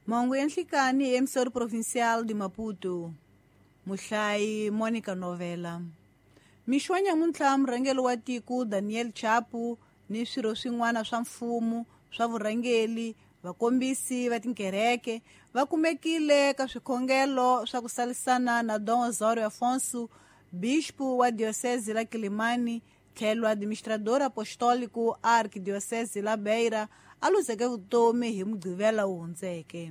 Mahungu ya nhlikani hi Emissora Provincial de Maputo. Muhlayi Monica Novela. Mixo wa nyamuntlha murhangeri wa tiko Daniel Chapo ni swirho swin'wana swa mfumo swa vurhangeri, vakombisi va tinkereke va kumekile ka swikhongelo swa ku salisana na Dom Osório Afonso, bispo wa diocese la Quilimane, tlhelo administrador apostólico arquidiocese la Beira, a luzeke vutomi hi Mugqivela wu hundzeke.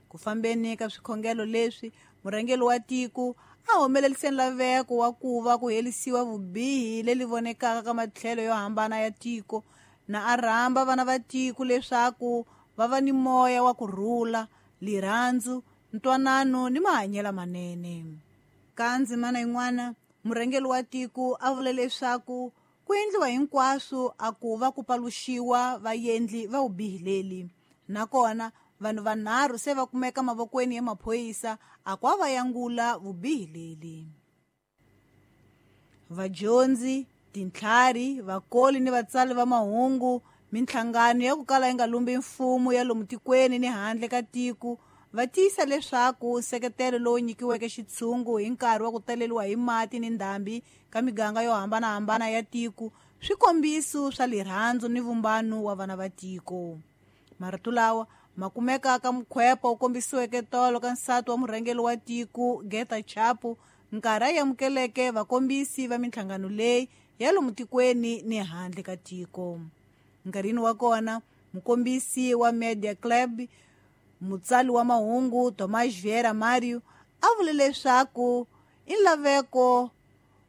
Ku fambeni ka swikhongelo leswi, murhangeri wa tiko a humelerise nlaveko wa ku va ku herisiwa vubihi leli vonekaka ka matlhelo yo hambana ya tiko, na a rhamba vana va tiko leswaku va va ni moya wa ku rhula, lirhandzu, ntwanano ni mahanyelo manene. Ka ndzimana yin'wana, murhangeri wa tiko a vule leswaku ku endliwa hinkwaswo a ku va ku paluxiwa vaendli va vubihi leli, nakona vanhu vanharhu se va kumeka mavokweni ya maphorisa a ku va yangula vubihi leli. Vadyondzi, tintlhari, vakoli ni vatsali va mahungu, minhlangano ya ku kala yi nga lumbi mfumo ya lomu tikweni ni handle ka tiko va tiyisa leswaku nseketelo lowu nyikiweke xitshungu hi nkarhi wa ku taleriwa hi mati ni ndhambi ka miganga yo hambanahambana ya tiko swi kombiso swa lirhandzu ni vumbano wa vana va tiko. Marito lawa ma kumeka ka mukhwepo wu kombisiweke tolo ka nsati wa murhangeri wa tiko Geta Chapo, nkarhi a amukeleke vakombisi va minhlangano leyi ya lomu tikweni ni handle ka tiko. Nkarhini wa kona, mukombisi wa Media Club, mutsali wa mahungu Tomás Vieira Mario, a vule leswaku i nlaveko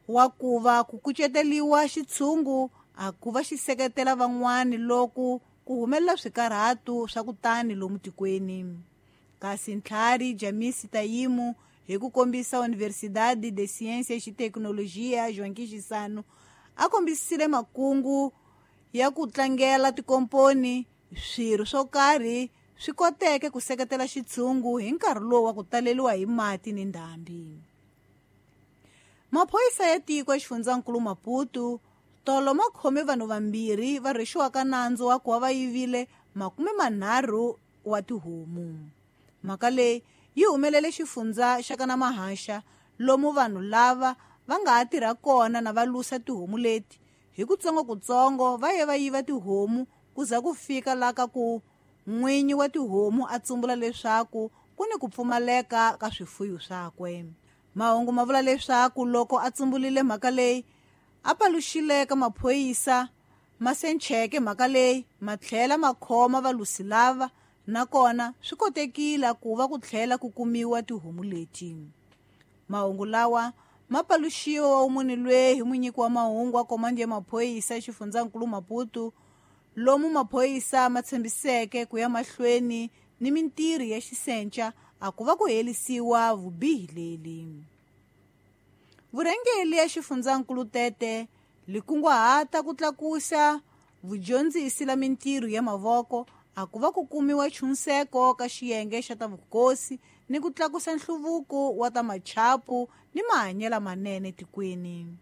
wa ku va ku kuceteriwa xitshungu a ku va xi seketela van'wani loko ku humelela swikarhatu swa kutani lomu tikweni. Kasi ntlhari Jamisi Tayimu, hi ku kombisa Universidade de Ciências e Tecnologia Joaquim Chissano, a kombisile makungu ya ku tlangela tikomponi, swirho swo karhi swi koteke ku seketela xitshungu hi nkarhi lowu wa ku taleriwa hi mati ni ndhambi. Maphorisa ya tiko exifundzankulu Maputo tolo ma khome vanhu vambirhi va rhwexiwaka nandzu wa ku va va yivile 30 wa tihomu. Mhaka leyi yi humelele xifundza xa ka Namahaxa, lomu vanhu lava va nga ha tirha kona na va lusa tihomu leti. Hi kutsongokutsongo va ye va yiva tihomu ku za ku fika la ka ku n'winyi wa tihomu a tsumbula leswaku ku ni ku pfumaleka ka swifuyo swakwe. Mahungu ma vula leswaku loko a tsumbulile mhaka leyi, a paluxile ka maphorisa, ma sencheke mhaka leyi, ma tlhela ma khoma valusi lava, nakona swi kotekile ku va ku tlhela ku kumiwa tihomu leti. Mahungu lawa ma paluxiwa wa munhu loyi hi munyiki wa mahungu wa komandi ya maphorisa exifundzankulu Maputo, lomu maphorisa ma tshembiseke ku ya mahlweni ni mintirho ya xisenca a ku va ku herisiwa vubihi leli. Vurhangeri ya xifundzankulu Tete li kunguhata ku tlakusa vudyondzisi la mintirho ya mavoko a ku va ku kumiwa chunseko ka xiyenge xa ta vukosi ni ku tlakusa nhluvuko wa ta machapu ni mahanyelo manene tikweni.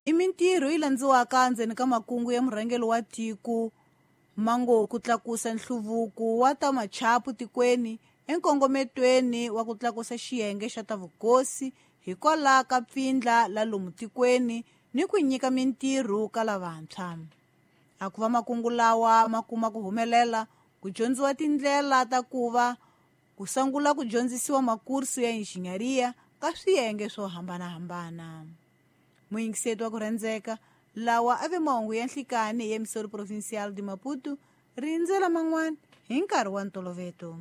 I mintirho yi landziwaka ndzeni ka makungu ya murhangeri wa tiko mango ku tlakusa nhluvuko wa ta machapu tikweni enkongometweni wa ku tlakusa xiyenge xa ta vukosi hikwalaho ka pfindla la lomu tikweni ni ku nyika mintirho ka lavantshwa. A ku va makungu lawa ma kuma ku humelela, ku dyondziwa tindlela ta ku va ku sungula ku dyondzisiwa makursu ya injhinyariya ka swiyenge swo hambanahambana. Muyingiseti wa ku rhandzeka, lawa a ve mahungu ya nhlikani hi Emissora Provincial de Maputo, rindzela man'wana hi nkarhi wa ntoloveto.